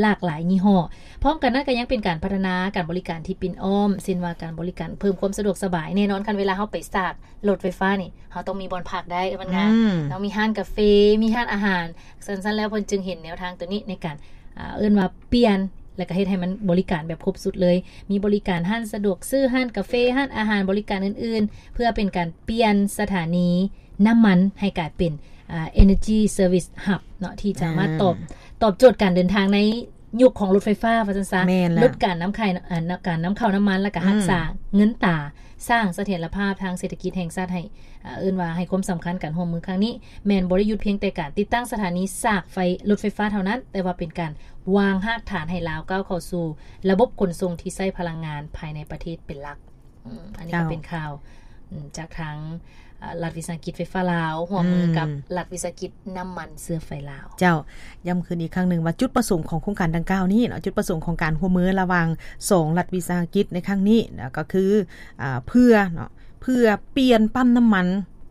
ຫຼາກຫຼາຍຍີ່ຫໍ້. ພ້ອມກັນນັ້ນກໍຍັງເປັນການພັດທະນາການບໍລິການທີ່ປິ່ນອ້ອມ, ເຊັ່ນວ່າການບໍລິການເພີ່ມຄວາມສະດວກສະບາຍ. ແນ່ນອນ ຄັນເວລາເຮົາໄປສາກລົດໄຟຟ້ານີ້ ເຮົາຕ້ອງມີບ່ອນພັກໄດ້ ມັນງາມ. ອືມ ເຮົາມີຮ້ານກາເຟ, ມີຮ້ານອາຫານ. ຊັ້ນໆແລ້ວເພິ່ນຈຶ່ງເຫັນແນວທາງໂຕນີ້ໃນການ ອ່າ ເອີ້ນວ່າປ່ຽນ ແລ້ວກໍເຮັດໃຫ້ມັນບໍລິການແບບຄົບຊຸດເລີຍ. ມີບໍລິການຮ້ານສະດວກຊື້, ຮ້ານກາເຟ, ຮ້ານອາຫານ, ບໍລິການອື່ນໆ ເພື່ອເປັນການປ່ຽນສະຖານີນ້ຳມັນໃຫ້ກາຍເປັນ ອ່າ Energy Service Hub ເນາະ ທີ່ສາມາດຕອບ ອືມ ຕອບໂຈດການເດີນທາງໃນຍຸກຂອງລົດໄຟຟ້າວ່າຊັ້ນຊະ. ແມ່ນແລ້ວ ຫຼຸດການນຳຂາຍ ອ່າ ການນຳເຂົ້ານ້ຳມັນ ແລ້ວກໍ ອືມ ຮັກສາເງິນຕາ, ສ້າງສະຖຽນລະພາບທາງເສດຖະກິດແຫ່ງຊາດໃຫ້ ອ່າ ເອີ້ນວ່າໃຫ້ຄວາມສຳຄັນການຮ່ວມມືຄັ້ງນີ້ ແມ່ນບໍ່ໄດ້ຢຸດພຽງແຕ່ການຕິດຕັ້ງສະຖານີສາກໄຟລົດໄຟຟ້າເທົ່ານັ້ນ, ແຕ່ວ່າເປັນການວາງຮາກຖານໃຫ້ລາວກ້າວເຂົ້າສູ່ລະບົບຂົນສົ່ງທີ່ໃຊ້ພະລັງງານພາຍໃນປະເທດເປັນຫຼັກ. ອືມ ອັນນີ້ກໍເປັນຂ່າວ ເຈົ້າ ອືມ ຈາກທາງ ເອີ່ ລັດວິສາຫະກິດໄຟຟ້າລາວ ຮ່ວມມືກັບ ອືມ ລັດວິສາຫະກິດນ້ຳມັນເຊື້ອໄຟລາວ. ເຈົ້າ ຢ້ຳຄືນອີກຄັ້ງໜຶ່ງວ່າຈຸດປະສົງຂອງໂຄງການດັ່ງກ່າວນີ້ເນາະ, ຈຸດປະສົງຂອງການຮ່ວມມືລະຫວ່າງສອງລັດວິສາຫະກິດໃນຄັ້ງນີ້ນະ ກໍຄື ອ່າ ເພື່ອເນາະ ເພື່ອປ່ຽນປ້ຳນ້ຳມັນ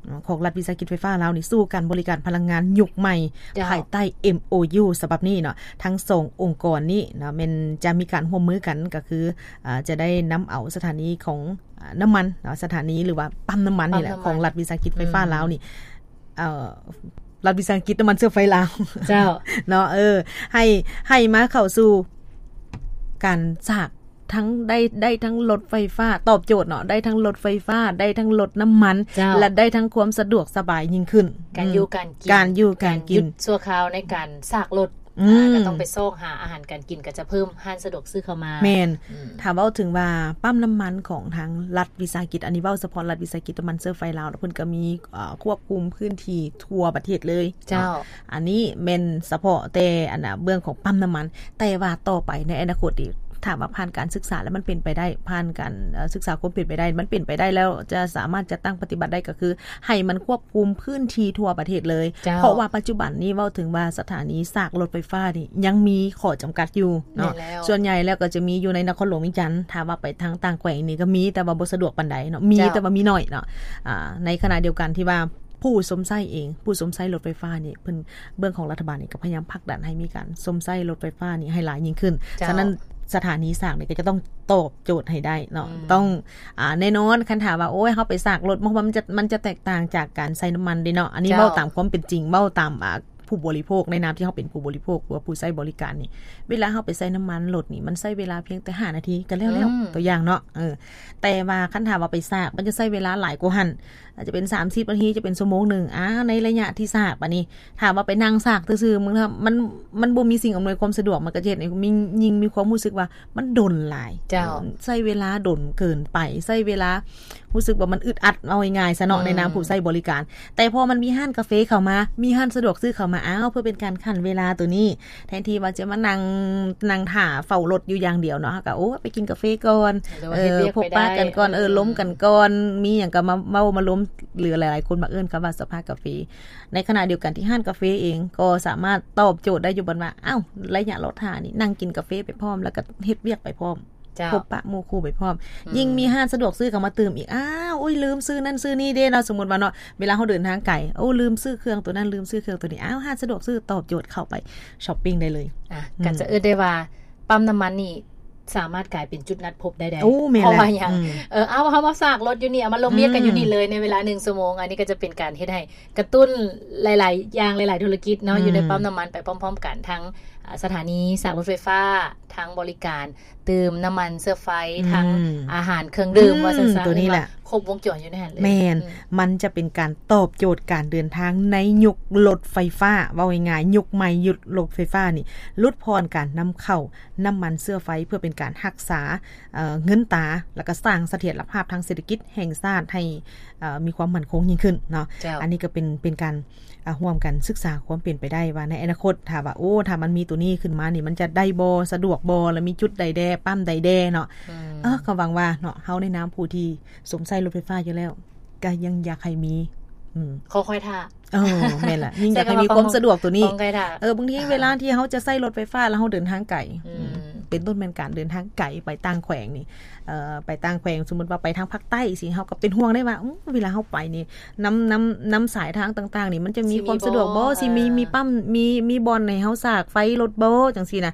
ເນາະ ຂອງລັດວິສາຫະກິດໄຟຟ້າລາວນີ້ ສູ່ການບໍລິການພະລັງງານຍຸກໃໝ່ ເຈົ້າ ພາຍໃຕ້ ເອັມໂອຢູ ສະບັບນີ້ເນາະ. ທັງສອງອົງກອນນີ້ເນາະ ແມ່ນຈະມີການຮ່ວມມືກັນ ກໍຄື ອ່າ ຈະໄດ້ນຳເອົາສະຖານີຂອງ ອ່າ ນ້ຳມັນເນາະ ສະຖານີ ຫຼືວ່າປ້ຳນ້ຳມັນນີ້ແຫຼະ ປ້ຳນ້ຳມັນຂອງລັດວິສາຫະກິດໄຟຟ້າ ອືມ ລາວນີ້ ເອີ່ ລັດວິສາຫະກິດນ້ຳມັນເຊື້ອໄຟລາວ ເຈົ້າ ເນາະ ເອີ ໃຫ້ ໃຫ້ມາເຂົ້າສູ່ການສາກ ທັງໄດ້ ໄດ້ທັງລົດໄຟຟ້າ ຕອບໂຈດເນາະ ໄດ້ທັງລົດໄຟຟ້າ ໄດ້ທັງລົດນ້ຳມັນ ເຈົ້າ ແລະ ໄດ້ທັງຄວາມສະດວກສະບາຍຍິ່ງຂຶ້ນ. ການຢູ່ ອືມ ການກິນ ການຢູ່ການກິນ ການຢຸດຊົ່ວຄາວໃນການສາກລົດ ອືມ ອ່າ ກໍຕ້ອງໄປຊອກຫາອາຫານການກິນ ກໍຈະເພີ່ມຮ້ານສະດວກຊື້ເຂົ້າມາ. ແມ່ນ ອືມ ຖ້າເວົ້າເຖິງວ່າປ້ຳນ້ຳມັນຂອງທາງລັດວິສາຫະກິດ ອັນນີ້ເວົ້າສະເພາະລັດວິສາຫະກິດນ້ຳມັນເຊື້ອໄຟລາວ ເພິ່ນກໍມີ ເອີ່ ຄວບຄຸມພື້ນທີ່ທົ່ວປະເທດເລີຍ ເຈົ້າ ເນາະ. ອັນນີ້ແມ່ນສະເພາະແຕ່ອັນນ່າເບື້ອງຂອງປ້ຳນ້ຳມັນ, ແຕ່ວ່າຕໍ່ໄປໃນອະນາຄົດນີ້ ຖ້າວ່າຜ່ານການສຶກສາແລ້ວມັນເປັນໄປໄດ້ ຜ່ານການ ເອີ່ ສຶກສາຄວາມເປັນໄປໄດ້ ມັນເປັນໄປໄດ້ແລ້ວ ຈະສາມາດຈັດຕັ້ງປະຕິບັດໄດ້ ກໍຄືໃຫ້ມັນຄວບຄຸມພື້ນທີ່ທົ່ວປະເທດເລີຍ ເຈົ້າ ເພາະວ່າປັດຈຸບັນນີ້ເວົ້າເຖິງວ່າສະຖານີສາກລົດໄຟຟ້ານີ້ຍັງມີຂໍ້ຈຳກັດຢູ່ເນາະ. ແມ່ນແລ້ວ ສ່ວນໃຫຍ່ແລ້ວກໍຈະມີຢູ່ໃນນະຄອນຫຼວງວຽງຈັນ, ຖ້າວ່າໄປທາງຕ່າງແຂວງນີ້ກໍມີ ແຕ່ວ່າບໍ່ສະດວກປານໃດເນາະ, ມີ ເຈົ້າ ແຕ່ວ່າມີໜ້ອຍເນາະ. ອ່າ ໃນຂະນະດຽວກັນທີ່ວ່າ ຜູ້ຊົມໃຊ້ເອງ ຜູ້ຊົມໃຊ້ລົດໄຟຟ້ານີ້ ເພິ່ນ ເບື້ອງຂອງລັດຖະບານນີ້ກໍພະຍາຍາມຜັກດັນໃຫ້ມີການຊົມໃຊ້ລົດໄຟຟ້ານີ້ໃຫ້ຫຼາຍຍິ່ງຂຶ້ນ. ເຈົ້າ ສະນັ້ນສະຖານີສາກນີ້ກໍຈະຕ້ອງຕອບໂຈດໃຫ້ໄດ້ເນາະ. ອືມ ຕ້ອງ ອ່າ ແນ່ນອນ ຄັນຖ້າວ່າ ໂອ້ຍ ເຮົາໄປສາກລົດ ມັນ ມັນຈະ ມັນຈະແຕກຕ່າງຈາກການໃຊ້ນ້ຳມັນເດ້ເນາະ. ອັນນີ້ ເຈົ້າ ເວົ້າຕາມຄວາມເປັນຈິງ ເວົ້າຕາມ ອ່າ ຜູ້ບໍລິໂພກ ໃນນາມທີ່ເຮົາເປັນຜູ້ບໍລິໂພກ ຫຼືວ່າຜູ້ໃຊ້ບໍລິການນີ້ ເວລາເຮົາໄປໃຊ້ນ້ຳມັນລົດນີ້ ມັນໃຊ້ເວລາພຽງແຕ່ຫ້ານາທີກໍແລ້ວແລ້ວ ອືມ ຕົວຢ່າງເນາະ. ເອີ ແຕ່ວ່າຄັນຖ້າວ່າໄປສາກ ມັນຈະໃຊ້ເວລາຫຼາຍກວ່າຫັ້ນ ອາດຈະເປັນສາມສິບນາທີ ຈະເປັນຊົ່ວໂມງໜຶ່ງ. ອາ ໃນໄລຍະທີ່ສາກບາດນີ້ ຖ້າວ່າໄປນັ່ງສາກຊື່ໆ ມັນ ມັນ ມັນບໍ່ມີສິ່ງອຳນວຍຄວາມສະດວກ ມັນກໍຈະເຮັດໃຫ້ມີ ຍິ່ງມີຄວາມຮູ້ສຶກວ່າມັນດົນຫຼາຍ. ເຈົ້າ ເອີ ໃຊ້ເວລາດົນເກີນໄປ ໃຊ້ເວລາ ຮູ້ສຶກວ່າມັນອຶດອັດ ເວົ້າງ່າຍໆຊະເນາະ ອືມ ໃນນາມຜູ້ໃຊ້ບໍລິການ. ແຕ່ພໍມັນມີຮ້ານກາເຟເຂົ້າມາ ມີຮ້ານສະດວກຊື້ເຂົ້າມາ ອ້າວ ເພື່ອເປັນການຂັນເວລາໂຕນີ້ ແທນທີ່ວ່າຈະມານັ່ງ ນັ່ງຖ້າເຝົ້າລົດຢູ່ຢ່າງດຽວເນາະ ເຮົາກໍ ໂອ້ ໄປກິນກາເຟກ່ອນ ເອີ ເຮັດວຽກໄປໄດ້ ເອີ ພົບປະກັນກ່ອນ ເອີ ເອີ ລົມກັນກ່ອນ ມີຫຍັງກໍມາເວົ້າມາລົມ ຫຼືຫຼາຍໆຄົນມັກເອີ້ນຄຳວ່າສະພາກາເຟ. ໃນຂະນະດຽວກັນທີ່ຮ້ານກາເຟເອງກໍສາມາດຕອບໂຈດໄດ້ຢູ່ ບ່ອນວ່າ ອ້າວ ໄລຍະລໍຖ້ານີ້ ນັ່ງກິນກາເຟໄປພ້ອມ ແລ້ວກໍເຮັດວຽກໄປພ້ອມ ເຈົ້າ ພົບປະໝູ່ຄູ່ໄປພ້ອມ ອືມ ຍິ່ງມີຮ້ານສະດວກຊື້ເຂົ້າມາຕື່ມອີກ ອ້າວ ໂອ້ຍ ລືມຊື້ນັ້ນຊື້ນີ້ເດ້ເນາະ. ສົມມຸດວ່າເນາະ ເວລາເຮົາເດີນທາງໄກ ໂອ້ ລືມຊື້ເຄື່ອງໂຕນັ້ນ ລືມຊື້ເຄື່ອງໂຕນີ້ ອ້າວ ຮ້ານສະດວກຊື້ຕອບໂຈດ ເຂົ້າໄປຊັອບປິງໄດ້ເລີຍ. ອ່ະ ອືມ ກໍຈະເອີ້ນໄດ້ວ່າປ້ຳນ້ຳມັນນີ້ສາມາດກາຍເປັນຈຸດນັດພົບໄດ້ໃດ. ໂອ້ ແມ່ນແຫຼະ ເພາະວ່າຫຍັງ? ອືມ ເອີ ເອົາ ເຮົາມາສາກລົດຢູ່ນີ້ ເອົາມາລົມວຽກກັນຢູ່ນີ້ເລີຍ ອືມ ໃນເວລາໜຶ່ງຊົ່ວໂມງ. ອັນນີ້ກໍຈະເປັນການເຮັດໃຫ້ກະຕຸ້ນຫຼາຍໆຢ່າງ ຫຼາຍໆທຸລະກິດເນາະ ອືມ ຢູ່ໃນປ້ຳນ້ຳມັນໄປພ້ອມໆກັນ ທັງ ອ່າ ສະຖານີສາກລົດໄຟຟ້າ ທັງບໍລິການຕື່ມນ້ຳມັນເຊື້ອໄຟ ອືມ ທັງອາຫານເຄື່ອງດື່ມ ອືມ ວ່າຊັ້ນຊະ ໂຕນີ້ແຫຼະ ເອີ້ນວ່າຄົບວົງຈອນຢູ່ໃນຫັ້ນເລີຍ. ແມ່ນ ອືມ ມັນຈະເປັນການຕອບໂຈດການເດີນທາງໃນຍຸກລົດໄຟຟ້າ ເວົ້າງ່າຍໆ ຍຸກໃໝ່ ຍຸກລົດໄຟຟ້ານີ້ ຫຼຸດຜ່ອນການນຳເຂົ້ານ້ຳມັນເຊື້ອໄຟ ເພື່ອເປັນການຮັກສາ ເອີ ເງິນຕາ ແລ້ວກໍສ້າງສະຖຽນລະພາບທາງເສດຖະກິດແຫ່ງຊາດໃຫ້ ເອີ ມີຄວາມໝັ້ນຄົງຍິ່ງຂຶ້ນເນາະ. ເຈົ້າ ອັນນີ້ກໍເປັນ ເປັນການ ອ່າ ຮ່ວມກັນສຶກສາຄວາມເປັນໄປໄດ້ວ່າໃນອະນາຄົດ ຖ້າວ່າ ໂອ້ ຖ້າມັນມີໂຕນີ້ຂຶ້ນມານີ້ ມັນຈະໄດ້ບໍ່ ສະດວກບໍ່ ແລະ ມີຈຸດໃດແດ່ ປ້ຳໃດແດ່ເນາະ. ອືມ ເອີ ກໍຫວັງວ່າເນາະ ເຮົາໃນນາມຜູ້ທີ່ຊົມໃຊ້ລົດໄຟຟ້າຢູ່ແລ້ວ ກໍຍັງຢາກໃຫ້ມີ ອືມ ຂໍຄອຍຖ້າ. ເອີ ແມ່ນລະ ຍິ່ງຢາກໃຫ້ມີຄວາມສະດວກໂຕນີ້. ເອີ ບາງທີເວລາທີ່ເຮົາຈະໃຊ້ລົດໄຟຟ້າແລ້ວເຮົາເດີນທາງໄກ ອືມ ເປັນຕົ້ນແມ່ນການເດີນທາງໄກໄປຕ່າງແຂວງນີ້ ເອີ ໄປຕ່າງແຂວງ ສົມມຸດວ່າໄປທາງພາກໃຕ້ຊີ້ ເຮົາກໍເປັນຫ່ວງໄດ້ວ່າ ອືມ ເວລາເຮົາໄປນີ້ ນຳ ນຳ ນຳສາຍທາງຕ່າງໆນີ້ ມັນຈະມີຄວາມສະດວກບໍ່ ຊິມີ ມີປ້ຳ ມີ ມີບ່ອນໃຫ້ເຮົາສາກໄຟລົດບໍ່ ຈັ່ງຊີ້ນະ.